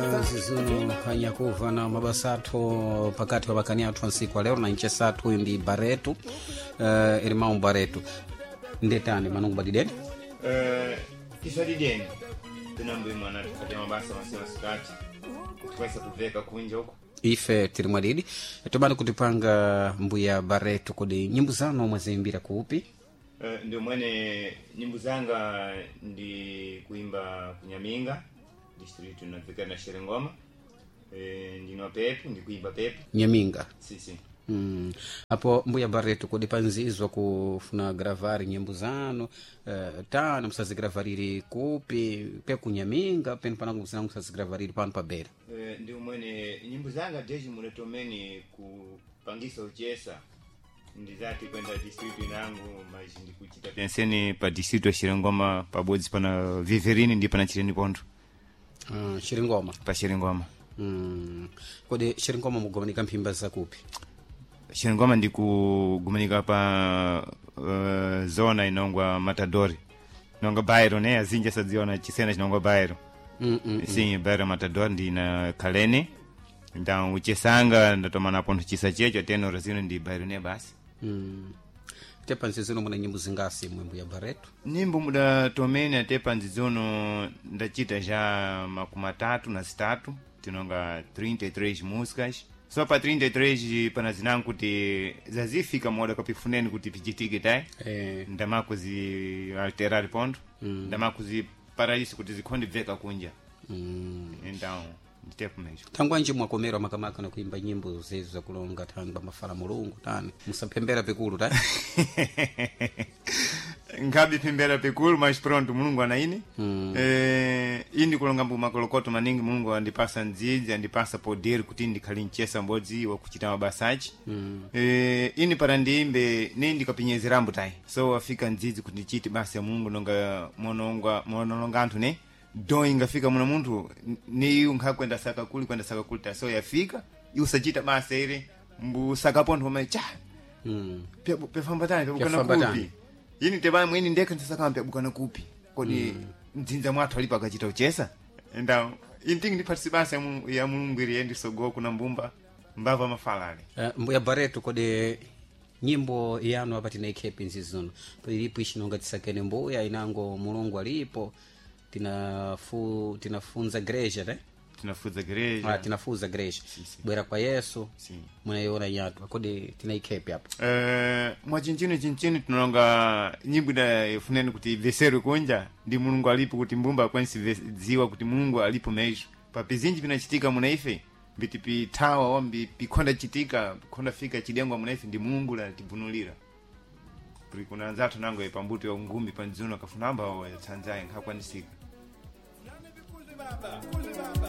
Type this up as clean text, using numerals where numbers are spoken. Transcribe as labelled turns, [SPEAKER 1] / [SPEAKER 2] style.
[SPEAKER 1] Zizuno anyakuva na mabasa athu pakati pa bakani athu ansiku alero na nchesa athu uyu ndi Bareto, irmão Bareto, ndetani manungu badideni.
[SPEAKER 2] Tisadideni tinambe mwana tikati mabasa masiku masikati tikwaisa kuveka kunja huko.
[SPEAKER 1] Ife tiri mwadidi tobani kutipanga mbuya Bareto, kodi nyimbo zanu mwaziimbira kuupi?
[SPEAKER 2] Ndio mwene nyimbo zanga ndi kuimba kunyaminga district navika na Sherengoma. Ndinwa pepu ndikuimba pepu.
[SPEAKER 1] Nyaminga.
[SPEAKER 2] Sisi.
[SPEAKER 1] Apo mbuya Bareto, kodi panzizwa kufuna gravari nyimbo zanu, tano musazigravariri kupi pe kunyaminga penu panangu zinangu musazigravariri pano pabera?
[SPEAKER 2] Ndio mwene nyimbo zanga deji munetomeni kupangisa uchesa ndizati kwenda district inangu mas ndikuchita penseni pa district ya Shirengoma pabodzi pana Viverini ndi pana Chireni Pondo.
[SPEAKER 1] Shiringoma.
[SPEAKER 2] Pa Shiringoma.
[SPEAKER 1] Kodi Shiringoma mugomanika mphimba zakupi?
[SPEAKER 2] Shiringoma ndikugumanika pa zona inongwa Matadori, inongwa bairo ne azinja sadziona chisena chinongwa bairo. Sim, bairo Matadori ndina Kalene então uchesanga ndatomana pontho chisa checho teno razino ndi bairo ne basi.
[SPEAKER 1] Tepa nzizino muna nyimbo zingasi mwe mbuya Bareto?
[SPEAKER 2] Nyimbo muda tomene atepa nzizono ndachita já 33, tinonga 33 músicas. Só pa 33 pana zinangu kuti zazifika moda kapifuneni kuti pichitike tai. Ndamakuzi alterar ponto. Ndamakuzi paraíso kuti zikhonde bveka kunja. Então nditepo mesmo.
[SPEAKER 1] Thangwanji mwakomerwa makamaka na kuimba nyimbo zezu zakulonga thangwa mafala mulungu tani musaphembera pikulu ta?
[SPEAKER 2] Nkhabe phembera pikulu, mas pronto mulungu anaine. Indi kulonga mbu makolokoto maningi mulungu andipasa ndzidzi andipasa poder kuti ndikhali mchesa mbodzi wakuchita mabasa achi. Ini para ndiimbe ne ndikapinyezerambo tayi so afika ndzidzi kuti ndichite basa ya mulungu nonga mononga monolonga anthu ne do ingafika muna munthu ni nkhakwenda saka kuli kwenda saka kuli ta so yafika iusachita basa ire mbusaka pontho pamene cha pyafambatani pyabukana
[SPEAKER 1] Pyafambatani.
[SPEAKER 2] kupi ini tebana mwini ndekha ndisakamba pyabukana kupi kodi mdzinza mwathu alipo akachita uchesa então ini tingi ndiphatisi basa ya mulungu iri yendisogowa kuna mbumba mbava mafalale.
[SPEAKER 1] Mbuya Bareto, kodi nyimbo yanu apa tinaikhepi nzizuno ilipo ichinonga tisakene mbuya inango mulungu alipo tinafunza greja te?
[SPEAKER 2] Tinafuza gereja.
[SPEAKER 1] Ah, tinafuza greja.
[SPEAKER 2] Si.
[SPEAKER 1] Bwera kwa Yesu.
[SPEAKER 2] Si.
[SPEAKER 1] Munayiona nyatwa kodi tinaikhepi apo?
[SPEAKER 2] Mwachinchini chinchini tinonga nyimbo ida ifuneni kuti ibveserwe kunja ndi mulungu alipo kuti mbumba akwanisi dziwa kuti mulungu alipo mesmo papizinji pinachitika muna ife mbiti pithawa wambi pikhonda chitika pikhonda fika chidengwa muna ife ndi mulungu latibvunulira puri kuna anzathu nango pambuto ya ngumbi pandziuno akafuna amba tsanzaye nkhakwanisika.
[SPEAKER 3] Baba.